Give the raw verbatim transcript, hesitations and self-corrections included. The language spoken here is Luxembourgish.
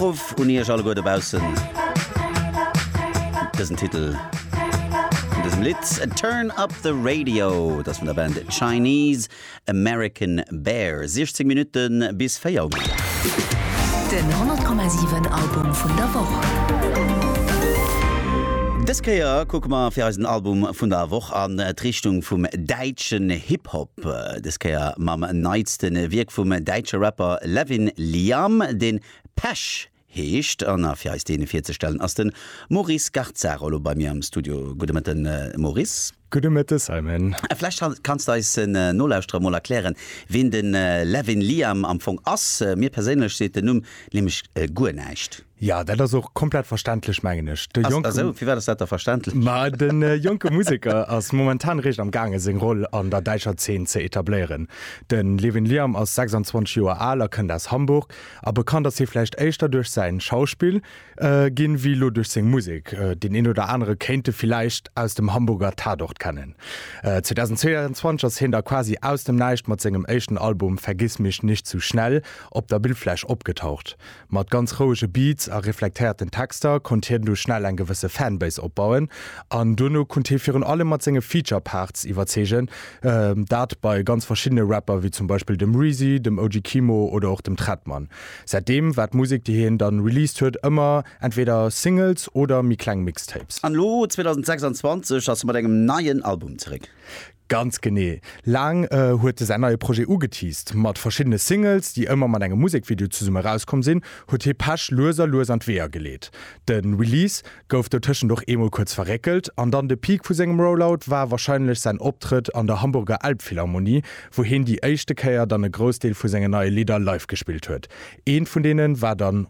Ruff un Iech alleguer dobaussen. Dësen Titel vun dësem Lidd Turn Up the Radio, dat vun der Band Chinese American Bear. siechzéng Minutte bis véier. Den honnert Komma siwen Album vun der Woch. Dës Kéier kucke mer fir eisen Album vun der Woch an d'Richtung vum däitschen Hip-Hop. Dës Kéier mam neitste Wierk vum däitsche Rapper Levin Liam, deen Pesch heescht. An fir eis dee virzestellen, ass de Maurice Garzaro elo bei mir am Studio. Gudde Mëtten, Maurice. Gudde Mëtte, Simon. Vläicht kanns de eis Nolauschterer mol erklären, wien de Levin Liam am Fong ass. Mir perséinlech seet den Numm nämlech guer näischt. Ja, dat ass och komplett verständlech, mengen ech. De jonken, also, firwat ass dat da verständlech? Ma de jonke Museker ass momentan réischt am gaange seng Roll an der däitscher Zeen ze etabléieren. De Levin Liam ass sechsanzwanzeg Joer al a kënnt aus Hamburg a bekannt ass hie vläicht éischter duerch säin Schauspill ginn, wéi elo duerch seng Musek. Deen een oder anere kéint e villäicht aus dem Hamburger Tatort kennen. zweedausendzweeanzwanzeg ass hien da quasi aus dem Näischt mat sengem éischten Album Vergiss mich nicht zu schnell op der Bildfläch opgetaucht. Mat ganz rouege Beats a reflektéierten Texter konnt hien du schnell eng gewësse Fanbase opbauen an duerno konnt hie virun allem mat senge Feature Parts iwwerzeegen, dat bei ganz verschiddene Rapper wéi zum Beispill dem Reezy, dem O G Kimo oder och dem Trettmann. Säitdeem war d'Musek, déi hien dann released huet, ëmmer entweder Singles oder méi kleng Mixtapes. An elo zweedausendsechsanzwanzeg ass e mat engem neien Album zeréck. Ganz genee. Laang huet e säin neie Projet ugeteased. Mat verschiddene Singles, déi ëmmer mat engem Musekvideo zesumme erauskomm sinn, huet hie Pesch lues a lues an d'Weeër geleet. De Release gouf dotëschent och eemol kuerz verréckelt an dann de Peak vu sengem Rollout war warscheinlech säin Optrëtt an der Hamburger Elbphilharmonie, wou hien déi éischte Kéier dann e Groussdeel vu sengen neie Lidder live gespillt huet. Eent vun deene war dann.